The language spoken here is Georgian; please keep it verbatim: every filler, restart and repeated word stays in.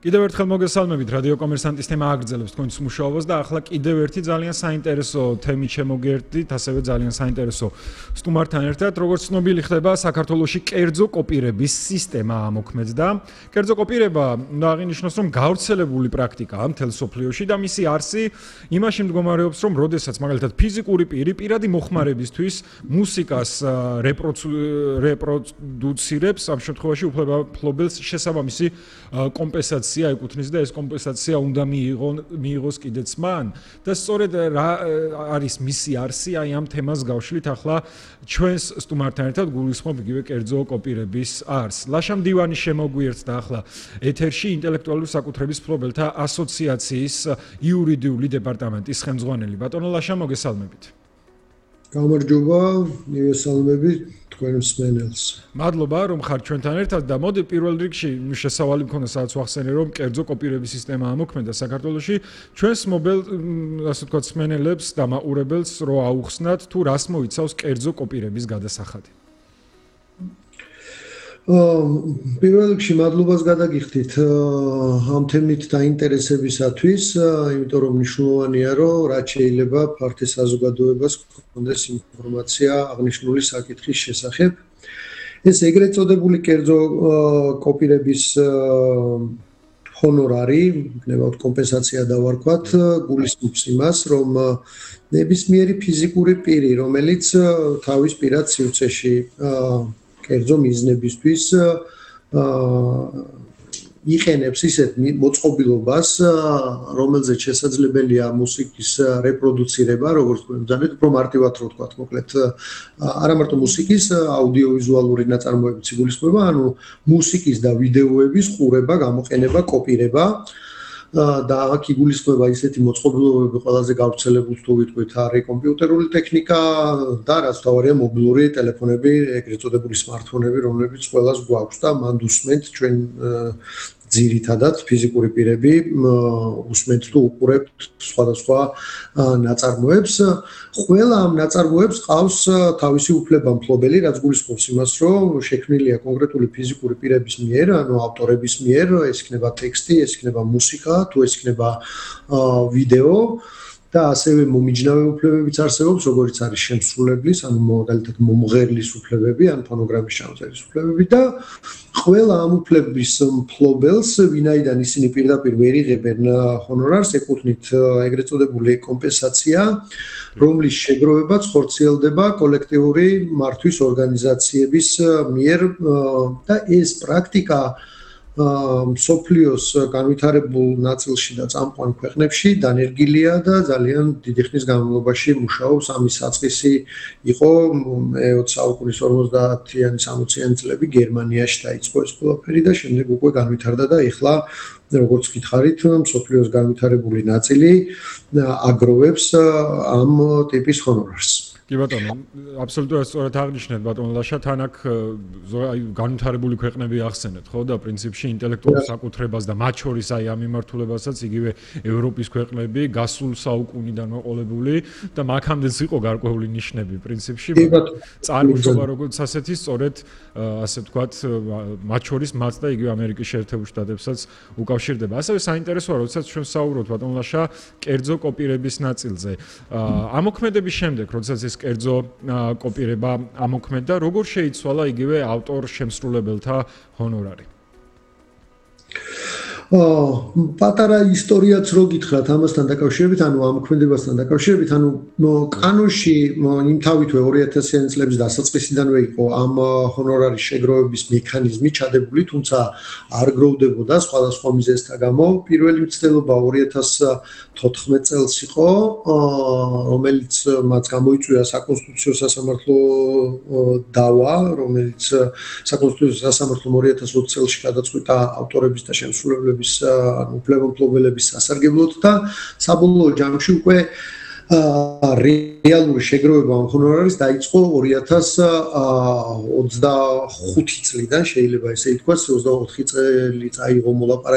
კიდევ ერთხელ მოგესალმებით რადიო კომერსანტის თემა აგრძელებს თქვენს მუშაობას და ახლა კიდევ ერთი ძალიან საინტერესო თემით შემოგერთდით, ასევე ძალიან საინტერესო სტუმართან ერთად, როგორც ცნობილი ხდება, საქართველოში კერძო კოპირების სისტემა ამოქმედდა. კერძო კოპირება უნდა აღინიშნოს, რომ გავრცელებული პრაქტიკაა მთელ მსოფლიოში და მისი არსი იმაში მდგომარეობს, რომ როდესაც მაგალითად ფიზიკური პირი პირადი მოხმარებისთვის მუსიკას რეპროდუცირებს, ამ შემთხვევაში უფლებამფლობელს შესაბამისი კომპენსაცია ეკუთვნის და ეს კომპენსაცია უნდა მიიღოს კიდეც მან და სწორედ რა არის მისი არსი აი ამ თემას გავშლით ახლა ჩვენს სტუმართან ერთად გულისხმობ იგივე კერძო კოპირების არსს. ლაშა მდივანი შემოგვიერთდა ახლა ეთერში ინტელექტუალური საკუთრების მფლობელთა ასოციაციის იურიდიული დეპარტამენტის ხელმძღვანელი. ბატონო ლაშა, მოგესალმებით. გამარჯობა, მივესალმებით თქვენ მსმენელს. მადლობა რომ ხართ ჩვენთან ერთად და მოდი პირველ რიგში შესავალი მქონდა სადაც ვახსენე რომ კერძო კოპირების სისტემა ამოქმედდა საქართველოში ჩვენს მობილ ასე ვთქვათ მსმენელებს და მაყურებელს რო აუხსნათ თუ რას მოიცავს კერძო კოპირების გადასახადი. პირველ რიგში მადლობას გადაგიხდით ამ თემით დაინტერესებისათვის, იმიტომ რომ მნიშვნელოვანია რომ რაც შეიძლება ფართე საზოგადოებას გქონდეს ინფორმაცია აღნიშნული საკითხის შესახებ. ეს ეგრეთ წოდებული კერძო კოპირების ჰონორარი, ნებავთ კომპენსაცია დავარქვათ, გულისხმობს იმას, რომ ნებისმიერი ფიზიკური პირი, რომელიც თავის პირად სივრცეში კერძო მიზნებისთვის იყენებს ისეთ მოწყობილობას, რომელზეც შესაძლებელია მუსიკის რეპროდუცირება, როგორც თქვენ უფრო მარტივად რო ვთქვათ, მოკლედ არა მარტო მუსიკის, აუდიოვიზუალური ნაწარმოებიც იგულისხმება, ანუ მუსიკის და ვიდეოების ყურება, გამოყენება, კოპირება და აქ იგულისხმება ისეთი მოწყობილობები ყველაზე გავრცელებული თუ ვიტყვით არის კომპიუტერული ტექნიკა და რაც თავარია მობილური ტელეფონები, ეგრეთ წოდებული smartphone-ები, რომლებიც ყველას გვაქვს და მანდ უსმენთ ჩვენ ძირითადად ფიზიკური პირები უსმენთ თუ უყურებთ სხვადასხვა ნაწარმოებს. ყველა ამ ნაწარმოებს ყავს თავისი უფლებამფლობელი, რაც გულისხმობს იმას, რომ შექმნილია კონკრეტული ფიზიკური პირების მიერ, ანუ ავტორების მიერ, ეს იქნება ტექსტი, ეს იქნება მუსიკა, თუ ეს იქნება ვიდეო და ასევე მომიჯნავე უფლებებიც არსებობს, როგორც არის შემსრულებლის, ანუ მაგალითად მომღერლის უფლებები, ან ფონოგრამის ჩამოწერის უფლებები და ყველა ამ უფლების მფლობელს, ვინაიდან ისინი პირდაპირ ვერ იღებენ ჰონორარს, ეკუთვნით ეგრეთ წოდებული კომპენსაცია, რომლის შეგროვებაც ხორციელდება კოლექტიური მართვის ორგანიზაციების მიერ და ეს პრაქტიკა მსოფლიოს განვითარებულ ნაწილში და წამყვან ქვეყნებში დანერგილია და ძალიან დიდი ხნის განმავლობაში მუშაობს. ამის საწყისი იყო მეოცე საუკუნის ორმოცდაათიანი სამოციანი წლები გერმანიაში დაიწყო ეს ყველაფერი და შემდეგ უკვე განვითარდა და ეხლა როგორც გითხარით, მსოფლიოს განვითარებული ნაწილი აგროვებს ამ ტიპის ჰონორარს. კი ბატონო, აბსოლუტურად სწორად აღნიშნეთ ბატონო ლაშა, თან აქ აი განვითარებული ქვეყნები ახსენეთ, ხო და პრინციპში ინტელექტუალურ საკუთრებას და მათ შორის აი ამ მიმართულებასაც იგივე ევროპის ქვეყნები გასულ საუკუნიდან მოყოლებული და მაქამდეც იყო გარკვეული ნიშნები პრინციპში. წარმოშობა როგორც ასეთი სწორედ ასე ვთქვათ, მათ შორის მათ და იგივე ამერიკის შეერთებულ შტატებსაც უკავშირდება. ასევე საინტერესოა, როდესაც ჩვენ საუბრობთ ბატონო ლაშა კერძო კოპირების ნაწილზე. ამოქმედების შემდეგ, როდესაც ეს კერძო კოპირება ამოქმედდა, როგორ შეიცვალა იგივე ავტორ შემსრულებელთა ჰონორარი? პატარა ისტორიაც რო გითხრათ ამასთან დაკავშირებით, ანუ ამოქმედებასთან დაკავშირებით, ანუ კანონში იმთავითვე ორი ათასიანი წლების დასაწყისიდანვე იყო ამ ჰონორარის შეგროვების მექანიზმი ჩადებული, თუმცა არ გროვდებოდა სხვადასხვა მიზეზთა გამო. პირველი მცდელობა ორი ათას თოთხმეტ წელს იყო, რომელიც მათ გამოიწვია საკონსტიტუციო სასამართლო დავა, რომელიც საკონსტიტუციო სასამართლომ ორი ათას ოცი წელს გადაწყვიტა ავტორების და შემსრულებლების უფლებამფლობელების სასარგებლოდ და საბოლოო ჯამში უკვე რეალური შეგროვება ამ ჰონორარის დაიწყო ორი ათას ოცდახუთი წლიდან, შეიძლება ესე ითქვას, ოცდაოთხი წელი წაიღო მოლაპარაკება